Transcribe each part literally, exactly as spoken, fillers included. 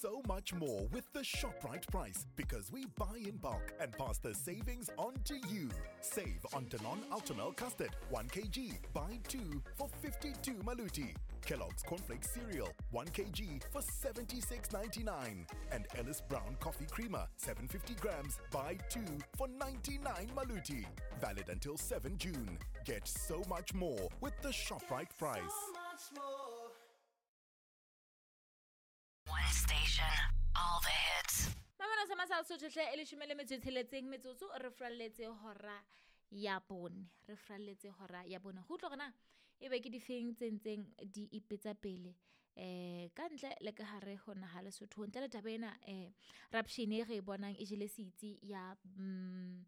so much more with the ShopRite price because we buy in bulk and pass the savings on to you. Save on Danone Ultimel Custard, one kilogram, buy two for fifty-two Maluti. Kellogg's Cornflakes Cereal, one kilogram for seventy-six ninety-nine. And Ellis Brown Coffee Creamer, seven hundred fifty grams, buy two for ninety-nine Maluti. Valid until seventh June. Get so much more with the ShopRite price. So much more. One station, all the hits. Mamelo sa masal sotho hle e leshome le metso e tsheletseng metsotso re fralletse hora ya bone. Re fralletse hora ya bone. Go utlwa hore na ebe ke difeng tse ntseng di ipetsa pele eh ka ntle le ka hare ho naha Lesotho. Ntle le taba ena eh rapshene e re e bonang e jele setsi ya mm,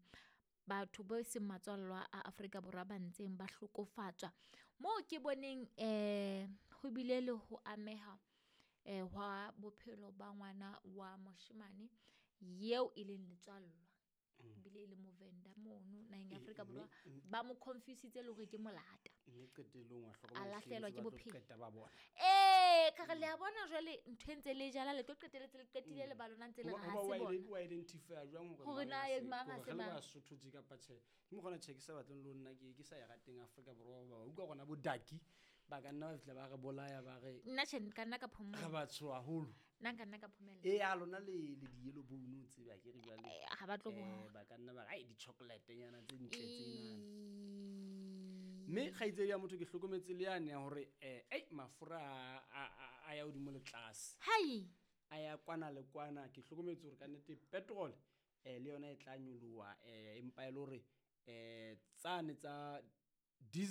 batho bo seng matswallwa a Afrika Borwa ba ntseng ba hlokofatswa. Moo ke boneng eh ho bile le ho ameha eh hwa bophelo ba ngwana wa moshemane yeo e leng letswallwa. Bile e le Movenda mono naheng ya Eh, Afrika mme, Borwa mme. ba mo confusitse le hore ke molata. Mme qetellong wa A hlokomela lahlehelwa hleng ke tse ba tlo bophelo. qeta ba bona. Eh, ka re le a bona jwale ntho e ntse le jala le tlo qetelletse le qetile le ba lona ntse le Hoba- re ha hoba se wa bona. ide-, wa identify jwang hore Hore mang na ha e se- mang ha hore se re le mang. Basotho tje kapa tjhe. Ke mokgwa ona tjhe ke sa batleng le ho nna ke, ke sa e rateng Afrika Borwa hoba wa utlwa rona bo Daki ba ka nna ba fihla ba re bolaya ba re Nna tjhe, nka nna ka phomella. Re batsho haholo. Nna nka nna ka phomella. Eh, ya lona le, le di-yellow bone o tsebe akere jwale. Eh, ha ba tlo Eh, bona. ba ka nna ba re, ai, di-chocolate nyana tse ntle tsena. Ee. Mme kgaitsedi ya motho ke hlokometse le yane ya hore, eh, ei, mafura a, a, a, a ya hodimo le tlase. Hai. A ya kwana le kwana. Ke hlokometse hore kannete petrol, eh, le yona e tla nyoloha, eh, empa e le hore, eh, tsane tsa diesel